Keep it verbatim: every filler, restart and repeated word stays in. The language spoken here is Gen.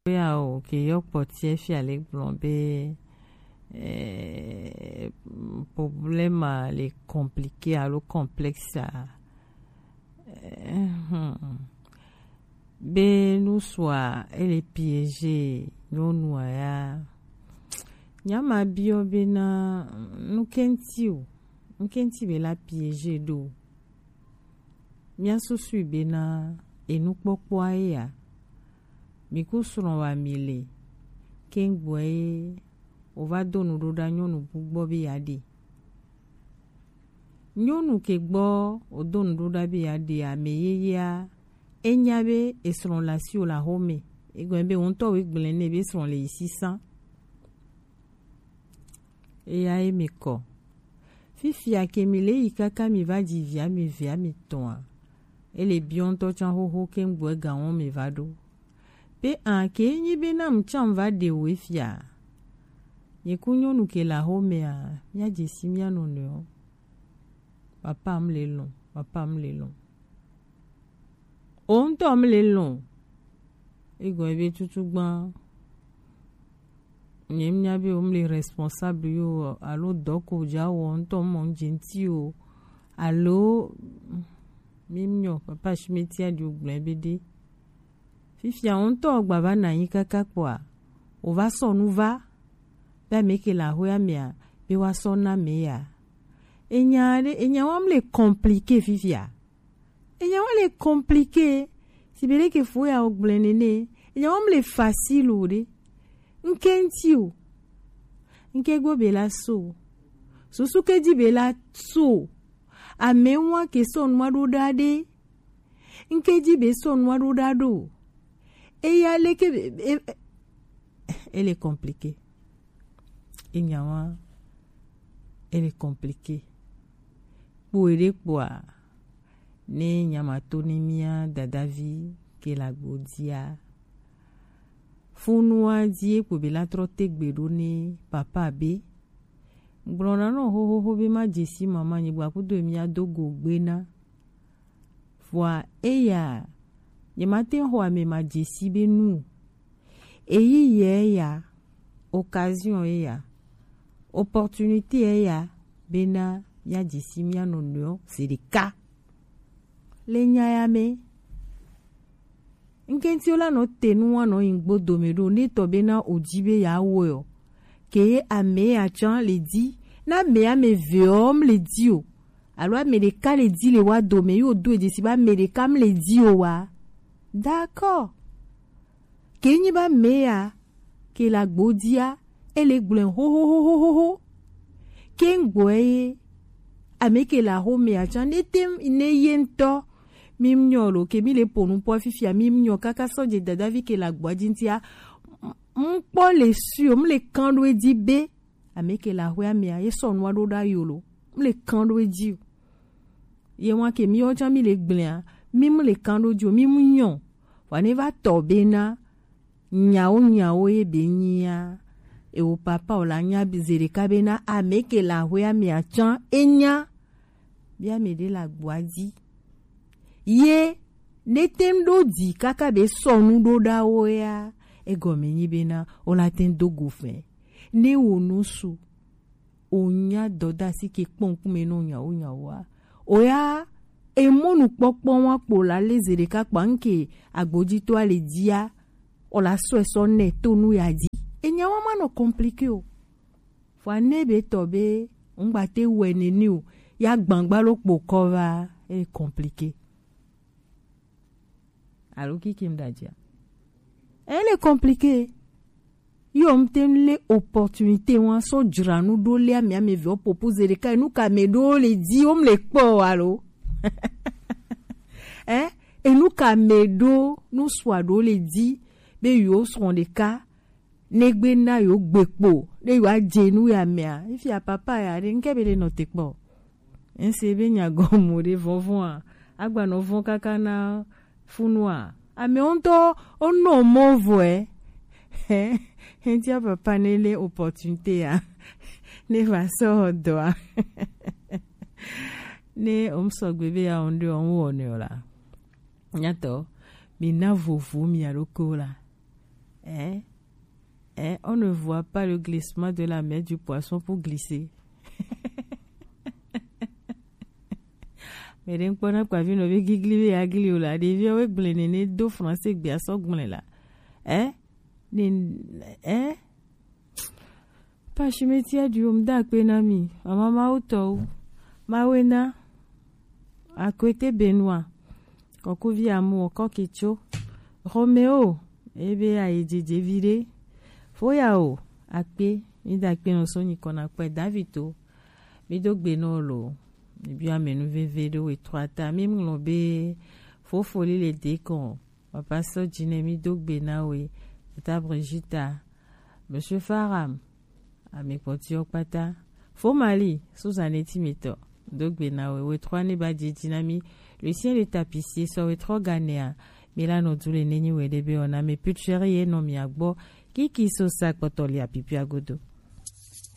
Ya o ke yɔ kpɔtiɛ fia le gblɔ be eh, problème le compliqué alo complexe a. Eh, hmm. Be nusua ele piégé nyɔnua ya. Nyama biɔ be na nukɛnti o, nukɛnti be la piégé do. Mía susui bena enukpɔkpɔa ye ya. Mi ku srɔ̃ wa mi le. Kengboe ye o va do nu ɖo ɖa nyɔnu bu gbɔ be ya ɖe. Nyɔnu ke gbɔ o do nu ɖo ɖa be ya ɖe ame yeyea, e nya be esrɔ̃ le asiwò le axome. Egɔme be wò ŋutɔ wòe gblẽ nɛ be esrɔ̃ le yi sisan. Eya ye mi kɔ. Fifia ke mi le yi kaka mi va dzi via mi via mi tɔa. Ele biɔ ŋutɔ tsã xoxo ke ŋgbɔe gawɔn mi va ɖo. Pe an ke nyi be na mu tsã va ɖe wo fia. Nye ku nyɔnu ke le axomea, mía dze si mía nɔnɔewo. Papa m le lɔn, papa m le lɔn. O ŋutɔ m le lɔn. Egɔme be tutugbã. Nye mía be wo m le responsable yo alo dɔ ko dza wɔ ŋutɔ mɔ ŋdzi ŋti o. Alo mi nyɔ papa si me tia di o gblẽ be ɖe. Fifia wo ŋutɔ gba va na anyi kaka kpɔa, o va sɔ nu va. Be ame ke le axoea mea, be wa sɔ na me ya. Enya ɖe, enya wa m le compliqué fifia. Enya wa le compliqué. Si be ɖe ke fo ya o gblẽ nene. Enya wa m le facile o ɖe. Ŋke ŋti o. Ŋke gbo be la so. Susu ke dzi be la so. Ame wa ke sɔ nua ɖo ɖa ɖe. Ŋke dzi be sɔ nua ɖo ɖa ɖo. Eya leke be, e, e, ele compliqué. Enya wa, ele compliqué. Kpo eɖe kpoa, ne nyama to ne mía dadavi ke le agbo dzia. Funua dzi ye kpo be la trɔ te gbe ɖo ne papa be. Gblɔ na nɔ xoxoxo be ma dze si mama nyi gba kudo mía do go gbe na. Vɔa eya, nye ma te xɔ ame ma dze si be nu. Eyi ye ya, occasion ye ya, opportunité ye ya, bena mía dze si mía nɔnɔewo zi ɖeka. Le nya ya me, ŋkɛnti wo la nɔ te nu wa nɔ yi gbo dome ɖo, ne tɔ bena o dzi be ya wɔe o. Ke ye ame ya tsã le di, na ame ame ve ɔ m le di o. Alo ame ɖeka le di le wa dome, yo do edzi si be ame ɖeka m le di o wa. D'accord. Ke nyi be ame ya, ke le agbo dzia, ele gblɔe xoxoxoxoxo. Ke ŋgbɔe ye, ame ke le axomea tsã, ne te ne ye ŋutɔ, mi nyɔ lo, ke mi le ƒo nu kpɔ fifia, mi nyɔ kaka sɔ dze dadavi ke le agboa dzi ŋutia, m-, m-, kpɔ le sûr, m le kan ɖo edzi be, ame ke le axoea mea, ye sɔ nua ɖo ɖa yo lo. M le kan ɖo edzi o. Ye wa ke mi wo tsã mi le gblea, mi m le kan ɖo dzi o, mi m nyɔ. Vɔa ne va tɔ bena, nyawo nyawo ye be nyia, ewo papa o la nya be zeɖeka bena, ame ke le axoea mea tsã, e nya. Bia ame ɖe le agboa dzi. Ye, ne te ŋ ɖo dzi kaka be sɔ nu ɖo ɖa wo ya, egɔme nyi bena, o la te ŋ do go fɛ. Ne wo nu su, o nya dɔdasi ke kpɔ ŋkume nɔ nyawo nyawoa. O ya, emɔ nukpɔkpɔ wa kpo la le zeɖeka kpa ŋke agbojitɔa le dzia, o la sɔe sɔ nɛ to nu ya dzi. Enya wa ma nɔ compliqué o. Vɔa ne be tɔ be, ŋgba te wɛ nene o, ya gbangba lo kpo kɔ va, e compliqué. Alo kiki m da dzia? E le compliqué. Yo m te le opportunité wa sɔ dzra nu ɖo le ame ame ve o popo zeɖeka, enu ka me ɖo le di o m le kpɔ o alo? Eh, enu ka me ɖo nu sua ɖo le di be yo srɔ̃ ɖeka ne gbe na yo gbe kpo, ne yo adze nu ya mea, ifia papa ya ɖe, ŋke be le nɔ te kpɔ. Ŋse be nyagɔmu ɖe vɔvɔa, agba nɔ vɔ kaka na funua. Ame ŋutɔ, o nɔ mɔ vɔe. Hentia papa ne le opportunité ya, ne va sɔ dɔa. Ne o m sɔgbe be ya o ŋɖe o ŋ wɔ ne o la. Nyatɔ, mi na vovo mi aɖokewo la. Hein? Hein, on ne voit pas le glissement de la main du poisson pour glisser. Mais d'un point, on a pas vu nos gigli et agli là. Des vieux avec blenéné, do français, bien sans gblin là. Hein? Hein? Pashimeti adu, mi da akpe na mi, mama Mawu tɔwo. Mawena, Akwete Benoit, Kɔkuvi Amu, Kɔkitso, Romeo, ebe ayi dzedze vi ɖe. Foya o, akpe, mi da akpe nɔ so nyikɔ na kpɛ David o. Mi do gbe nɔ lo. Mi bi amenu veve ɖo we trɔ ata. Mi ŋlɔ be fofo li le de kɔn. Papa sɔ dzi nɛ mi do gbe na we. Tata Brigitta, Monsieur Faram, ami kpɔtiɔ kpata. Fo Mali, Suzanne Timitɔ, do gbe na we. We trɔ ne ba dzi dzi na mi. Lucien le tapissier sɔ we trɔ ganea. Mi la nɔ du le ne nyi we de be ona me putcheri ye nɔ mi agbɔ. Kiki so sa kpɔtɔ li apipi agodo.